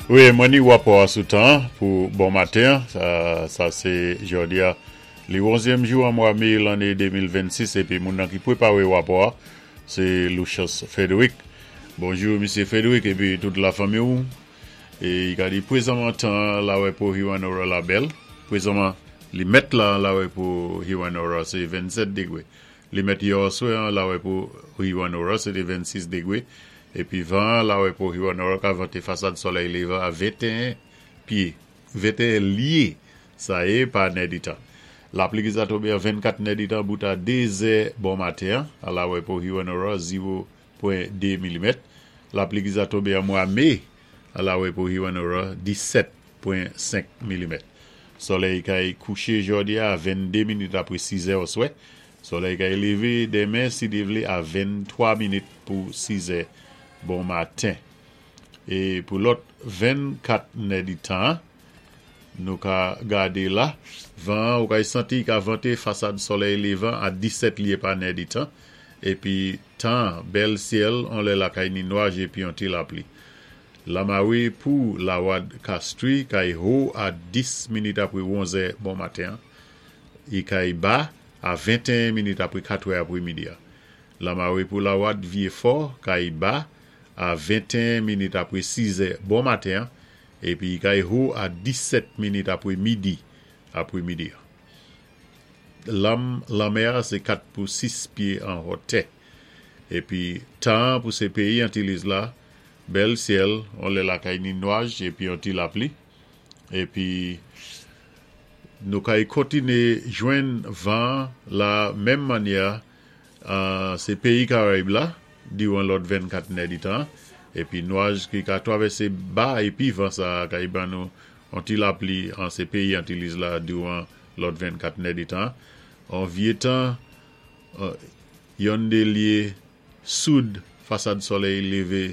Wi, mwen ni wapò a sou tan pou bon maten. Sa sé jòdi a, li wonzyèm jou an mwa mé lanné 2026 épi moun nan ki pwépawé wapò a sé Lucius Frederick. Bonjou Misyé Frederick épi tout lafanmi ou. É i ka di pwézanman tan an lawè pou Hewanorra la bèl. Pwézanman li mèt la an lawè pou Hewanorra sé 27 degwé. Li mèt yè òswè an lawè pou Hewanorra sé té 26 degwé. Épi van an lawè pou Hewanorra ka vante fasad sòlèy lévan a 21 pyé, 21 lyé sa yé pa nèditan. Lapli ki sa tonbé an 24 nèditan bout a 2 zè bon maten an a lawè pou Hewanorra 0.2 milimèt. Lapli ki sa tonbé an mwa mé a lawè pou Hewanorra 17.5 milimèt. Sòlèy kay kouché jòdi a 22 minit apwé 6 zè òswè. Sòlèy kay lévé denmen si Dye vlé a 23 minit pou 6 zè bon maten. É pou lòt 24 nèditan an, nou ka gadé la, van an ou kay santi i ka vante fasad sòlèy lévan a 17 lyé pa nèditan, épi tan an bèl syèl on lè lakay ni nwaj épi on ti lapli. Lamare pou Lawad Kastri kay ho a 10 minit apre wonzè bon maten an, e kay ba a 21 minit apre katrè apre midi a. Lamare pou Lawad Vyefò kay ba a 21 minit apre sizè bon maten an, epi kay ho a 17 minit apre midi apre midi a. Lam lanmè a se 4 pou 6 pye an hotè. Epi tan an pou se peyi Antiliz la Bèl syèl, on lè lakay ni nwaj epi on ti lapli. Epi nou kay kontine jwenn van la menm mannyè a se peyi Karayib la diran lòt 24 nèditan. Epi nwaj ki ka twavèse ba epi van sa a kay ban nou on ti lapli an se peyi Antiliz la diran lòt 24 nèditan. On vye tan yonn de lye Soud fasad solèy leve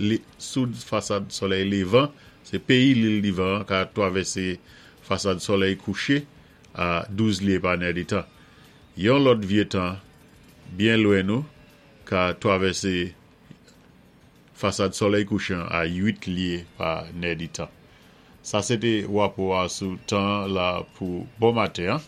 li Soud fasad solèy levan se peyi Lil Divan an ka twavèse fasad solèy kouche a 12 lye pa nèditan. Yon lòt vye tan byen lwen nou ka twavèse fasad solèy kouchan a 8 lye pa nèditan. Sa se te wapo a sou tan la pou bon maten an.